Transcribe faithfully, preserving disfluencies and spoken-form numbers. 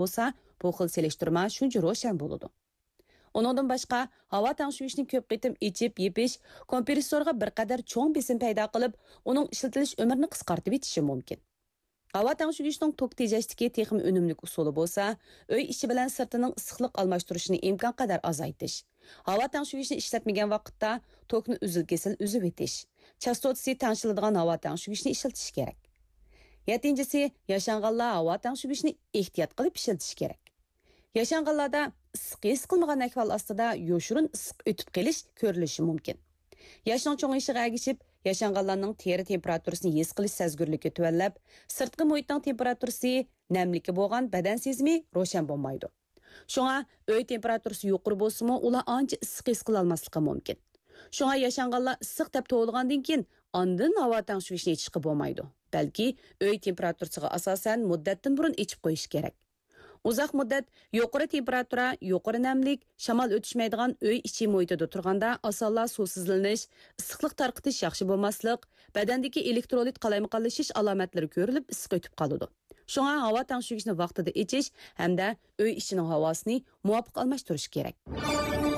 بولسا، بۇ خىل سېلىشتۇرما شۇنچە روشەن بولىدۇ. ئۇنىڭدىن باشقا، ھاۋا تەڭشىگۈچنى كۆپ قېتىم ئېچىپ، يېپىش كومپرېسسورغا بىر قەدەر چوڭ بېسىم پەيدا قىلىپ، ئۇنىڭ ئىشلىتىلىش ئۆمرىنى قىسقارتىۋېتىشى مۇمكىن. ھاۋا تەڭشىگۈچنىڭ توك تېجەشتىكى تېخىمۇ ئۈنۈملۈك ئۇسۇلى بولسا، ئۆي ئىچى بىلەن سىرتىنىڭ ئىسسىقلىق ئالماشتۇرۇشىنى ئىمكانقەدەر ئازايتىش. ھاۋا تەڭشىگۈچنى ئىشلەتمىگەن ۋاقىتتا توكنى ئۈزۈل-كېسىل ئۈزۈۋېتىش. چاستوتىسى تەڭشىلىدىغان ھاۋا تەڭشىگۈچنى ئىشلىتىش كېرەك. يەتتىنچىسى، ياشانغانلار ھاۋا تەڭشىگۈچنى ئېھتىيات قىلىپ ئىشلىتىش كېرەك. ياشانغانلاردا ئىسسىق ھېس قىلمىغان ئەھۋال ئاستىدا يوشۇرۇن ئىسسىق ئۆتۈپ قېلىش كۆرۈلۈشى مۇمكىن. ياشنىڭ چوڭىيىشىغا ئەگىشىپ، ياشانغانلارنىڭ تېرە تېمپېراتۇرىسىنى ھېس قىلىش سەزگۈرلۈكى تۆۋەنلەپ، سىرتقى مۇھىتنىڭ تېمپېراتۇرىسى، نەملىكى بولغان بەدەن سېزىمى روشەن بولمايدۇ. شۇڭا ئۆي تېمپېراتۇرىسى يۇقىرى بولسىمۇ، ئۇلار ئانچە ئىسسىق ھېس قىلالماسلىقى مۇمكىن. شۇڭا ياشانغانلار ئىسسىق دەپ توۋلىغاندىن كېيىن، ئاندىن ھاۋا تەڭشىگۈچنى ئېچىشقا بولمايدۇ، بەلكى ئۆي تېمپېراتۇرىسىغا ئاساسەن مۇددەتتىن بۇرۇن ئېچىپ قويۇش كېرەك. ئۇزاق مۇددەت يۇقىرى تېمپېراتۇرا، يۇقىرى نەملىك، شامال ئۆتۈشمەيدىغان ئۆي ئىچى مۇھىتىدا تۇرغاندا ئاسانلا سۇسىزلىنىش، ئىسسىقلىق تارقىتىش ياخشى بولماسلىق، بەدەندىكى ئېلېكترولىت قالايمىقانلىشىش ئالامەتلىرى كۆرۈلۈپ، ئىسسىق ئۆتۈپ قالىدۇ. شۇڭا ھاۋا تەڭشىگۈچنى ۋاقتىدا ئېچىش ھەمدە ئۆي ئىچىنىڭ ھاۋاسىنى مۇۋاپىق ئالماشتۇرۇش كېرەك.